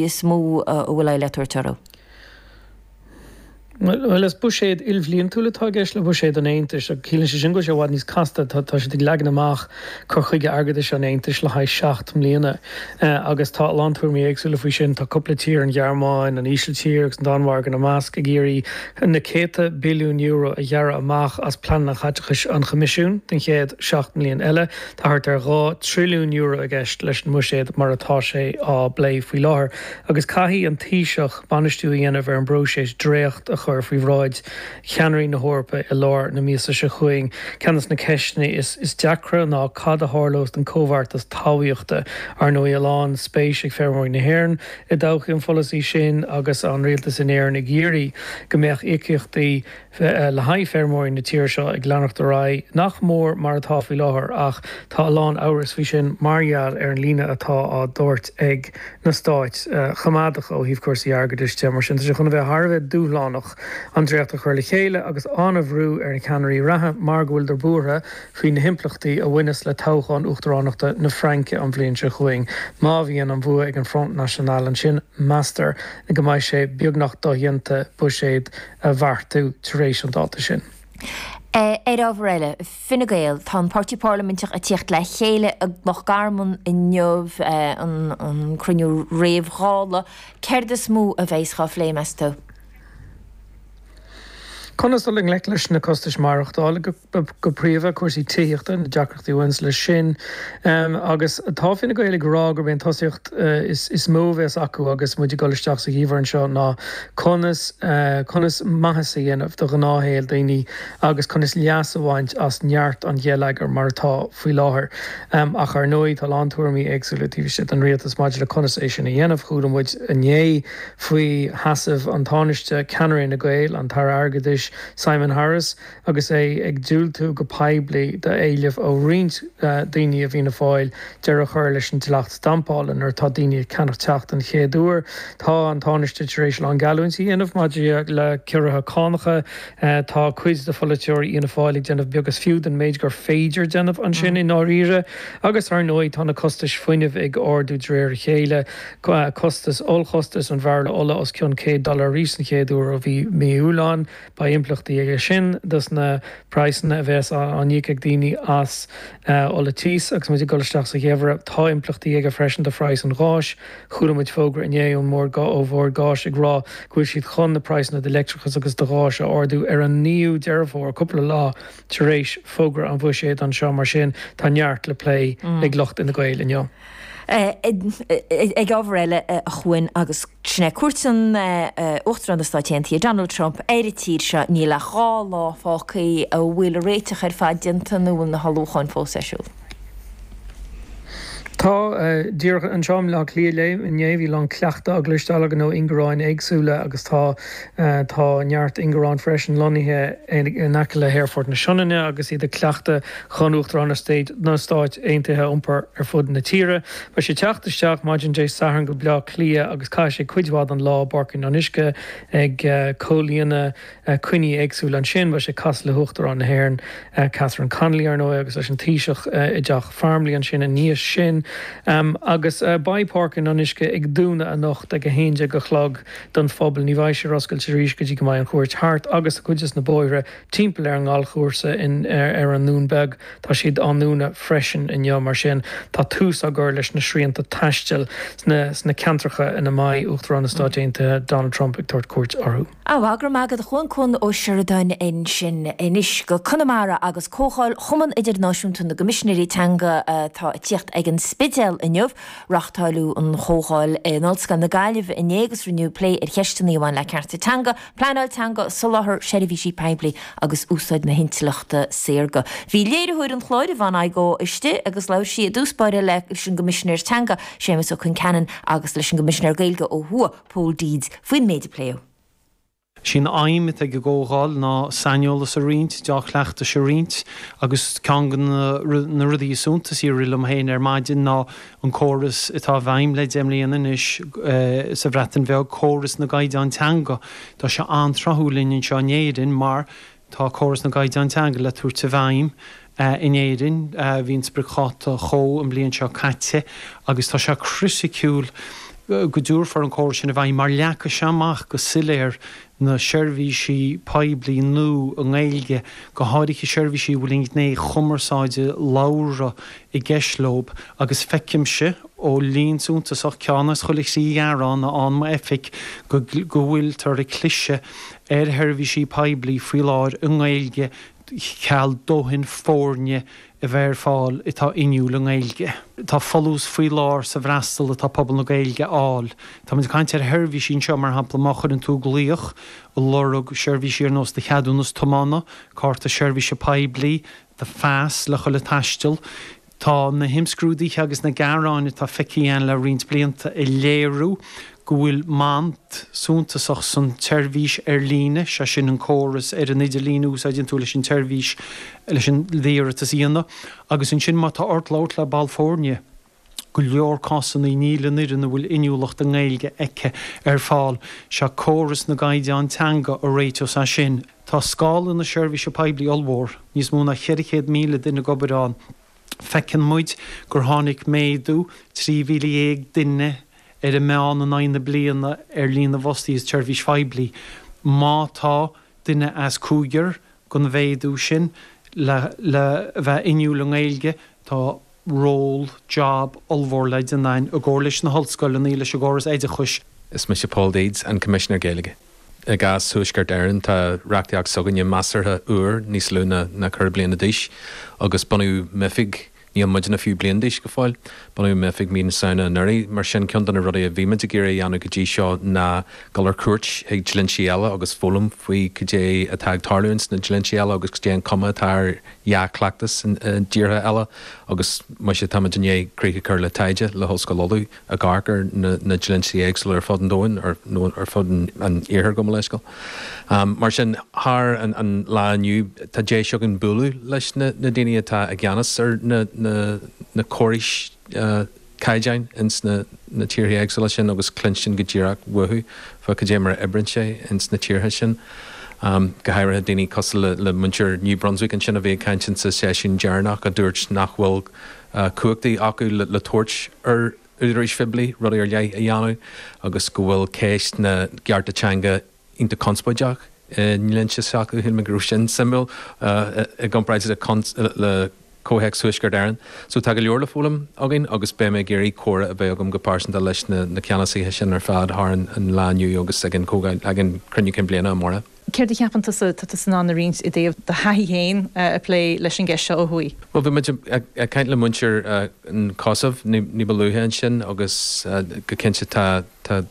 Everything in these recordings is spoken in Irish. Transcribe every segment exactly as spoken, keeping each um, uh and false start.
is mó a bhfuil aghaidh le tabhairt orthu? Bhuel, is buiséad ilbhliantúil atá i gceist le buiséad an Aontais, agus ciallaíonn sé sin go bhfuil sé i bhfad níos casta. Tá tá siad ag leagan amach cur chuige airgeadais an Aontais le haghaidh seacht mbliana, agus tá a lán tuairimí éagsúla faoi sin. Tá cúpla tír, an Ghearmáin, an Ísiltír agus an Danmhairg ina measc, ag iarraidh na céadta billiún euro a ghearradh amach as pleananna caiteachais an Choimisiúin don chéad seacht mbliana eile. Tá thart ar dhá trilliún euro i gceist leis an mbuiséad mar atá sé á bplé faoi láthair, agus caithfidh an Taoiseach bainistiú a dhéanamh ar an bpróiseas dréacht a chur faoi bhráid cheannairí na hEorpa i lár na míosa seo chugainn. Ceann de na ceisteanna is deacra ná cad a tharlós don chomhbheartas talmhaíochta. Ar ndóigh, a lán spéis ag feirmeoirí na hÉireann i dtodhchaí an pholasaí sin agus an rialtas in Éirinn ag iarraidh go mbeadh íocaíochtaí le haghaidh feirmeoirí na tíre seo ag leanacht ar aghaidh nach mór mar atá faoi láthair ach tá a lán amhras faoi sin mar gheall ar an líne atá á dtabhairt ag na stáit choimeádacha ó thaobh cúrsaí airgeadais de. Mar sin, tá sé chun a bheith thar a bheith dúshlánach an dréacht a chur le chéile agus an-bhrú ar na ceannairí reatha mar go bhfuileadar buartha faoi na himpleachtaí a bhaineas le toghchán uachtaránachta na Fraince an bhliain seo chugainn. Má bhíonn an bhua ag an Front National ansin, meastar go mbeidh sé beagnach dodhéanta buiséad a bheartú tar éis an dáta sin. Ar ábhar eile, Fine Gael, tá an páirtí parlaiminteach ag tíocht le chéile i Loch Garman inniu, an cruinniú réamh-Dhála. Céard is mó a bheas á phlé, meas tú? Conas dul i ngleic leis na costais maireachtála, go príomha, cúrsaí tithíochta, na deacrachtaí a bhaineas leis sin. Agus tá Fine Gael ag rá gurb é an tosaíocht is mó a bheas acu agus muid ag dul isteach sa gheimhreadh anseo ná conas conas maitheas a dhéanamh do ghnáthshaol daoine agus conas leas a bhaint as neart an gheilleagair mar atá faoi láthair. Ach ar ndóigh tá a lán tuairimí éagsúla taobh istigh den rialtas maidir le conas é sin a dhéanamh. Chuala muid inné faoi sheasamh an Tánaiste, ceannaire Fhine Gael, an tAire Airgeadais Simon Harris, agus é ag diúltú go poiblí d'éilimh ó roinnt daoine i bhFianna Fáil deireadh a chur leis an dleacht stampála nuair atá daoine ag ceannach teach den chéad uair. Tá an Tánaiste tar éis a lán geallúintí a dhéanamh maidir le ciorruithe cánacha. Tá cuid de pholaiteoirí Fhianna Fáil ag déanamh beag is fiú den méid gur féidir déanamh ansin i ndáiríre. Agus ar ndóigh tá na costais fuinnimh ag ardú de réir a chéile. Costas, ollchostas an bhairille ola os cionn céad dollar arís den chéad uair ó bhí mí Iúil ann. Beidh impleachtaí aige sin dos na praghsanna a bheas á n-íoc ag daoine as ola tíos agus muid ag dul isteach sa gheimhreadh. Tá impleachtaí aige freisin do phraghas an gháis. Chuala muid fógra inné ón mBord ó Bhord Gáis ag rá go bhfuil siad chun na praghsanna do leictreachas agus do ghás a ardú ar an naoú Deireadh Fómhair, cúpla lá tar éis fógra an bhuiséid anseo. Mar sin, tá neart le plé ag lucht Fhine Gael inniu. Ag ábhar eile, a Chuain, agus sin é cuairt an Uachtaráin na Stáit Aontaithe, Donald Trump, ar an tír seo, níl ach dhá lá fágtha, an bhfuil an réiteach ar fad déanta nó an bhfuil na hullmhúcháin fós ar siúl? Tá. Díreach anseo i mBaile Átha Cliath inné bhí a lán cleachtadh á gcloisteáil againn ó ingearáin éagsúla agus tá tá neart ingearán freisin lonnaithe in aice le hAerfort na Sionainne agus iad ag cleachtadh chun Uachtarán na Stáit Aontaithe a iompar ar fud na tíre. Beidh sé ag teacht isteach maidin Dé Sathairn go Baile Átha Cliath agus caithfidh sé cuid mhaith den lá i bPáirc an Fhionnuisce ag comhlíonadh coinní éagsúla ansin. Beidh sé ag casadh le hUachtarán na hÉireann, Catherine Connolly, ar ndóigh, agus leis an Taoiseach i dTeach Farmleigh ansin i ndiaidh sin. Agus beidh Páirc an Fhionnuisce ag dúnadh anocht ag a haon déag a chlog don phobal. Ní bheidh sé ar oscailt arís go dtí go mbeidh an chuairt thart agus cuid des na bóithre timpeall ar an ngalfchúrsa ar an nDún Beag, tá siad á ndúnadh freisin inniu. Mar sin, tá tús á gcur leis na srianta taistil sna ceantracha ina mbeidh Uachtarán na Stáit Aontaithe Donald Trump ag tabhairt cuairt orthu. Á, go raibh maith agat a Chuain, Cuan Ó Seireadáin ansin. Anois go Conamara agus Comhdháil Chumann Idirnáisiúnta na gCoimisinéirí Teanga atá ag tíocht ag an Spidéal inniu. Reáchtáileadh an chomhdháil in Ollscoil na Gaillimhe inné agus rinneadh plé ar cheisteanna a bhain le cearta teanga, pleanáil teanga, soláthar seirbhísí poiblí agus úsáid na hintleachta saorga. Bhí léiritheoir an chláir, Yvonne Igoe, istigh agus labhair sí i dtús báire leis an gCoimisinéir Teanga, Séamus Ó Concheanainn agus leis an gCoimisinéir Gaeilge ó thuaidh, Pól Deeds, faoin méid a pléadh. Sí an aidhm atá ag an gcomhdháil ná saineolas a roinnt, deá-chleachtais a roinnt agus ceann de na rudaí is suntasaí a rith liom féin ar maidin ná an córas atá i bhfeidhm le deich mbliana anois sa Bhreatain Bheag, córas na gcaighdeán teanga. Tá sé an-tráthúil linn anseo in Éirinn mar tá córas na gcaighdeán teanga le tabhairt i bhfeidhm in Éirinn. Bhí an spriocdháta chomh an bhliain seo caite agus tá sé criticiúil go dtabharfar an córas sin i bhfeidhm mar leagfaidh sé amach go soiléir na seirbhísí poiblí nua i nGaeilge, go háirithe seirbhísí a bhfuil an ghné chumarsáide labhartha i gceist leo agus feicimse ó líon suntasach ceann as chuile thrí ghearán a fhaigheann m'oifig go go bhfuiltear ag cliseadh ar sheirbhísí poiblí faoi láthair i nGaeilge cheal dóthain foirne a bheith ar fáil atá inniúil i nGaeilge. Tá folús faoi lár sa bhfreastal atá pobal na Gaeilge a fháil. Táimid ag caint ar sheirbhísí anseo, mar shampla, má chuireann tú glaoch ag lorg seirbhísí ar nós do cheadúnas tiomána, cárta seirbhíse poiblí, do phas le dhul ag taisteal, Tá na himscrúduithe agus na gearáin atá feicthe againn le roinnt blianta ag léiriú go bhfuil mant suntasach san tseirbhís ar líne, sé sin an córas ar an idirlíon a úsáideann tú leis an tseirbhís leis an d'iarratas a dhéanamh, agus ansin má tá ort labhairt le ball foirne, go leor cásanna níl an fhoireann a bhfuil inniúlacht i nGaeilge aici ar fáil. Sé córas na gcaighdeán teanga a réiteos é sin. Tá scála na seirbhíse poiblí ollmhór, níos mó ná ceithre chéad míle duine ag obair ann. Feiceann muid gur tháinig méadú trí mhíle dhéag duine ar an meán in aghaidh na bliana ar líon na bhfostaithe sa tseirbhís phoiblí. Má tá duine as cúigear den mhéadú sin le le bheith inniúil i nGaeilge, tá ról, job, ollmhór le déanamh againn i gcomhar leis na hollscoileanna, leis an gcóras oideachais. Is mise Paul Deeds, an Coimisinéir Gaeilge. I gcás Thuaisceart Éireann, tá reachtaíocht s'againne measartha úr, níos lú ná ceithre bliana d'aois, agus bunaíodh m'oifig, níl muidne fiú bliain d'aois go fóill, bunaíodh m'oifig mí na Samhna anuraidh. Mar sin, ceann de na rudaí a bhí muid ag iarraidh a dhéanamh go dtí seo ná dul ar cuairt chuig dlínsí eile agus foghlaim faoi cad é atá ag tarlú ins na dlínsí eile agus cad é an cuma atá ar dhea-chleachtas i dtíortha eile agus muise tá muid i ndiaidh críoch a chur le taighde le hOllscoil Uladh ag amharc ar na dlínsí éagsúla ar fud an domhain, nó ar fud an iarthair gabh mo leithscéal. Mar sin, thar an lá inniu, tá deis againn bualadh leis na daoine atá i gceannas ar na córais caighdeáin ins na tíortha éagsúla sin agus cluinstin go díreach uathu fá cad é mar a oibríonn sé ins na tíortha sin. Go háirithe daoine cosúil le muintir New Brunswick ansin a bhí ag caint insa seisiún deireanach a dúirt nach bhfuil cumhachtaí acu le tabhairt ar údaráis phoiblí rudaí ar leith a dhéanamh agus go bhfuil ceist na gcearta teanga iontach conspóideach i ndlínse s'acu. Shíl mé go raibh sin suimiúil i gcomparáid le comhthéacs Thuaisceart Éireann. So tá go leor le foghlaim againn agus beidh mé ag iarraidh comhrá a bheith agam go pearsanta leis na ceannasaithe sin ar fad thar an lá inniu agus ag an cruinniú cinn bliana amárach. Céard a cheapann tusa tá tusa in ann a roinnt i dtaobh do thaithí féin ag plé leis an gceist seo ó thuaidh? Bhuel, bhí muid ag caint le muintir an Chosaiv ní ba luaithe ansin agus go cinnte tá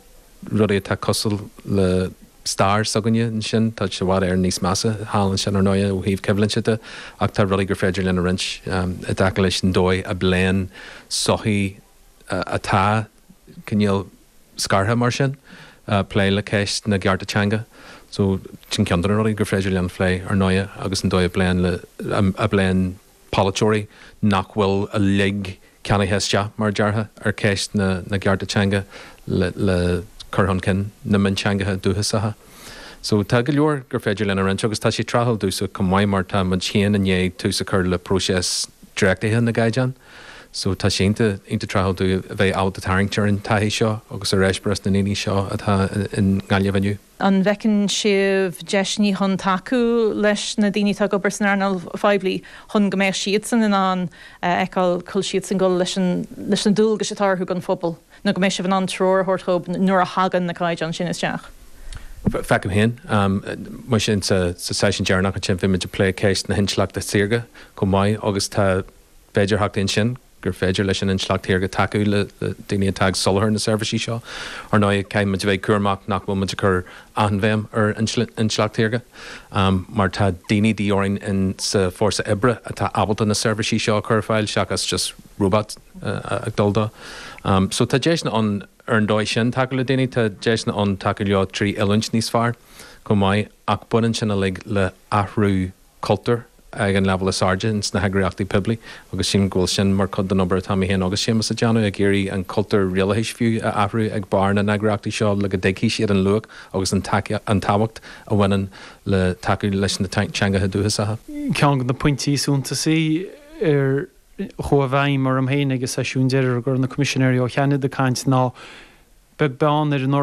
rudaí atá cosúil le stair s'againne ansin. Tá sé i bhfad Éireann níos measa thall ansin ar ndóigh ó thaobh coimhlinte de ach tá rudaí gur féidir linn a roinnt i dtaca leis an dóigh a bpléann sochaí atá cineál scartha mar sin, plé le ceist na gcearta teanga. So, sin ceann de na rudaí gur féidir linn a phlé, ar ndóighe, agus an dóigh a bpléann le, a bpléann polaiteoirí nach bhfuil uilig ceannaithe isteach, mar a déarfá, ar cheist na gcearta teanga le, le cur chun cinn na mionteangacha dúchasacha. So, tá go leor gur féidir linn a roinnt agus tá sé tráthúil domhsa chomh maith mar tá muid féin i ndiaidh tús a chur le próiseas dréachtaithe na gcaighdeán. So tá sé iontach, iontach tráthúil dúinn a bheith ábalta tarraingt ar an taithí seo agus ar eispéireas na ndaoine seo atá i nGaillimh inniu. An bhfeiceann sibh deiseanna chun tacú leis na daoine atá ag obair san earnáil phoiblí chun go mbeadh siadsan in ann a fheiceáil cá bhfuil siadsan ag dul leis an, leis na dualgais atá orthu don phobal nó go mbeidh sibh in ann treoir a thabhairt dhóibh nuair a thagann na caighdeáin sin isteach? Feicim féin, muise sa seisiún deireanach ansin bhí muid ag plé ceist na hintleachta saorga chomh maith agus tá féidearthachtaí ansin gur féidir leis an intleacht shaorga tacú le daoine atá ag soláthar na seirbhísí seo. Ar ndóigh, caithfidh muid a bheith cúramach nach bhfuil muid ag cur an-bhéim ar intleacht shaorga, mar tá daoine de dhíth orainn in sa fórsa oibre atá ábalta na seirbhísí seo a chur ar fáil seachas just robot ag dul dó. So tá deiseanna ann ar an dóigh sin tacú le daoine, tá deiseanna ann tacú leo trí oiliúint níos fearr chomh maith, ach baineann sin uilig le athrú cultúir ag an leibhéal is airde ins na heagraíochtaí poiblí agus sílim go bhfuil sin mar chuid den obair atá mé féin agus Séamus a déanamh, ag iarraidh an cultúr rialachais fiú a athrú ag barr na n-eagraíochtaí seo le go dtuigfidh siad an luach agus an tábhacht a bhaineann le tacú leis na teangacha dúchasacha. Ceann de na pointí is suntasaí ar chuaigh i bhfeidhm orm féin ag an seisiún deiridh go raibh na Coimisinéirí ó Cheanada ag caint ná beag beann ar an